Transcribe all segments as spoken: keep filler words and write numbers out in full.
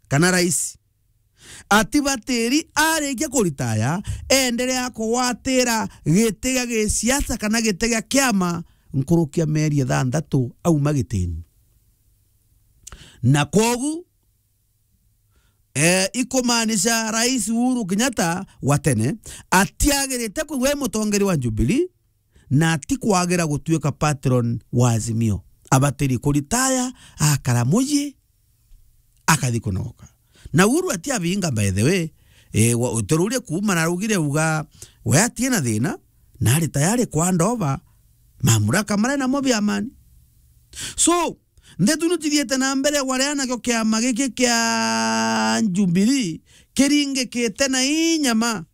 kana rais, atibatiri arikia kuritaya, endelea kugwatira giti gia gisiasa kana giti gia kiama nkuruki ya mieri ithanthatu auma gitini. Na kwogu, eh, ikumaanisha Rais Uhuru Kenyatta wa tene atiagirite kwigua e mutongeri wa Jubilee, na atikwagira gutuika patron wa Azimio. Abatiri kuritaya, akara muji, akathi kunogoka. Na Uhuru atiabinga, by the way, eh, wa-, utururie kuuma na araugire uga we atie na thina, na ari tayari kwandova mamuraka maria namo bia amani. So, ndeto ino cithiite na mbere, waria nakio kiama giki kia Jubilee kiringikite na inyama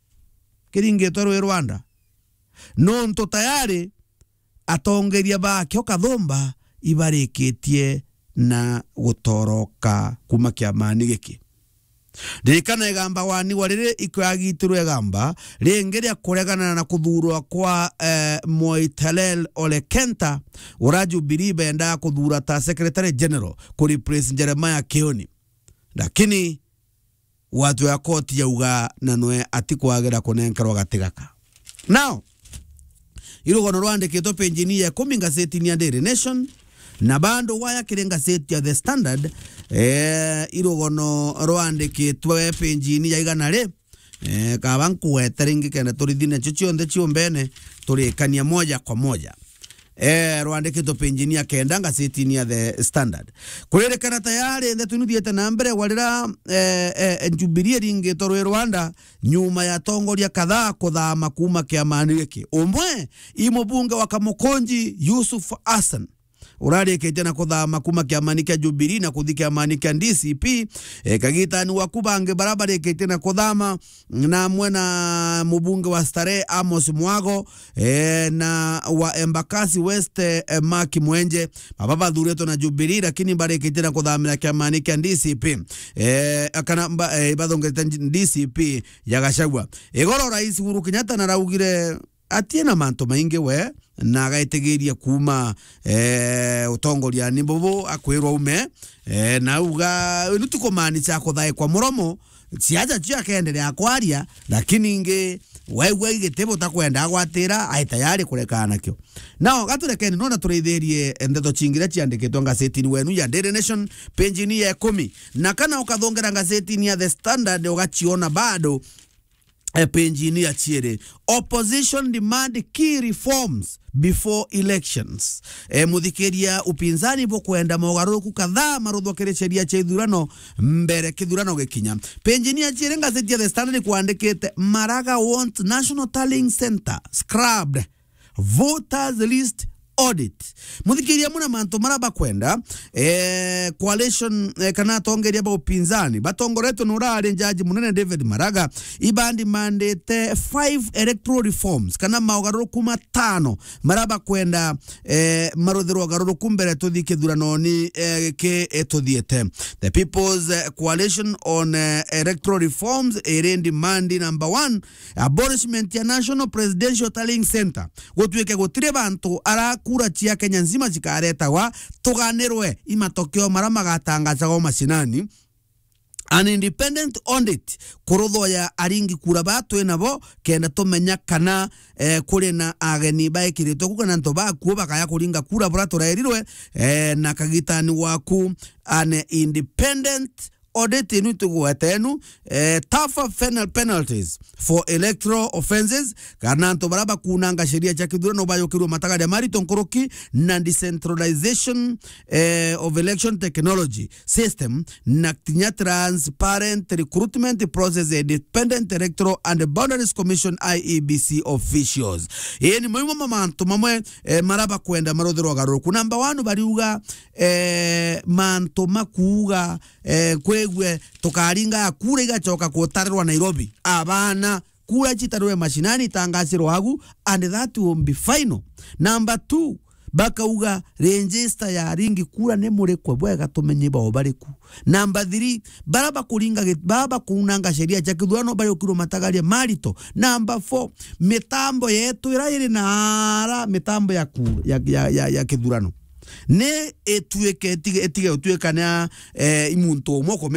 kiringitwe rwi rwa nda. Nontu tayari atongeria bakio kathumba ibarikitie na gutoroka kuuma kiamani giki. Ririkana igamba wanigwa riri ikwagitirwe igamba ringi ria kuregana na kuthurwa kwa, eh, Moitalel Ole Kenta, ura Jubilee bendaa kuthura ta Secretary General ku replace Jeremiah Kioni. Lakini watu ya koti yauga na nwe atikwagira kunenkerwa gati gaka. Now, irugono rwandikitwe page-ini ya ikumi ngazetini ya Daily Nation, na bando waya kiri ngazeti ya The Standard, eh, irugono rwandikitwe page-ini ya igana ri, eh, kaba nkuwete ringi kenda turithi nacio cionthe ciumbene, turikania moja kwa moja. Eh, rwandikitwe page-ini ya kenda ngazetini ya The Standard. Kuririkana tayari ndeto ino ithiite na mbere, warira, eh, eh, Jubilee iringitwe rwi rwa nda nyuma ya atongoria kadhaa kuthama kuuma kiamani giki. Umwe i mubunge wa Kamukunji, Yusuf Hassan, urarikitie na kuthama kuuma kiamani kia Jubilee na kuthi kiamani kia D C P, eh, kagitani waku bangi bara barikitie na kuthama, na amwe na mubunge wa Starehe Amos Mwago, eh, na wa Embakasi West, eh, Mark Mwenje. Baba bathuritwe na Jubilee, lakini barikitie na kuthamira kiamani kia D C P. Eh, kana mba-, eh, bathongete D C P ya Gachagua. Igoro Rais Uhuru Kenyatta naraugire atie na mantu maingi we, na agaitigiria kuuma, eh, utongoriani bubu akwirwa ume, eh, na auga, riu ti kumaanisha kuthaikwa muromo, siasa cio akeendelea kwaria, lakini ingi waigua igiti butakwenda agwatira, ai tayari kurekana nakio. Nao gaturekeni nona turithirie ndeto cingi iria ciandikitwe ngazetini wenu ya Daily Nation, page-ini ya ikumi. Na kana ukathongera ngazetini ya The Standard, ugaciona bado, eh, page-ini ya ciiri. Opposition demand key reforms before elections. Eh, muthikiria, upinzani bukwenda mogaruruku kadhaa maruthwa kiri sheria cia ithurano mbere kithurano gikinya. Page-ini ya ciiri ngazeti ya The Standard kwandikite, Maraga wants National Tallying Centre scrapped. Voters list audit. Muthikiria, amwe na mantu maria bakwenda, eh, coalition, eh, kana atongeria ba upinzani batongoretwe ni urari jaji munene David Maraga, ibandimandite five electoral reforms kana maugaruruku matano maria bakwenda, eh, maruthirwe ugaruruku mbere tuthi kithuranoni, eh, ki, eh, tuthiete. The People's, eh, Coalition on, eh, Electoral Reforms iri demand number one, abolishment ya National Presidential Tallying Centre, gutuike gutiri bantu ara kura cia Kenya nzima cikaretagwa, tuganirwe i matokeo mara magatangazagwa mashinani. An independent audit, kuruthwa ya aringi kura ba twi nabo, kenda tumenya kana, eh, kuri na ageni baikiritwe ku kana antu bakuo bakaya kuringa kura bura turerirwe, eh, na kagitani waku. An independent audit inu tugwete enu, eh, tougher penal-, penalties for electoral offences, kana antu bara bakunanga sheria cia kithurano bayukirwe matagaria marito nkuruki, na decentralization, eh, of election technology system, na kinya transparent recruitment process, Independent Electoral and Boundaries Commission, I E B C officials. Ii ni mamwe ma mantu mamwe, eh, mara bakwenda maruthirwa ugaruruku. Number one, bariuga, eh, mantu makuuga, eh, kwigwe tukaringa kura igacoka kutarirwa Nairobi. Abana, kura citarirwe mashinani, itangacirwa agu, and that will be final. Number two, bakauga register ya aringi kura ni murikwe bwega tumenye bao bariku. Number three, bara bakuringa gi-, bara bakunanga sheria cia kithurano bayukirwe matagaria marito. Number four, mitambo yetu ira iri na ara mitambo ya ku-, ya, ya, ya, ya kithurano ni ituike, itige, itige gutuika ni ya, eh, i muntu umwe ukumi-,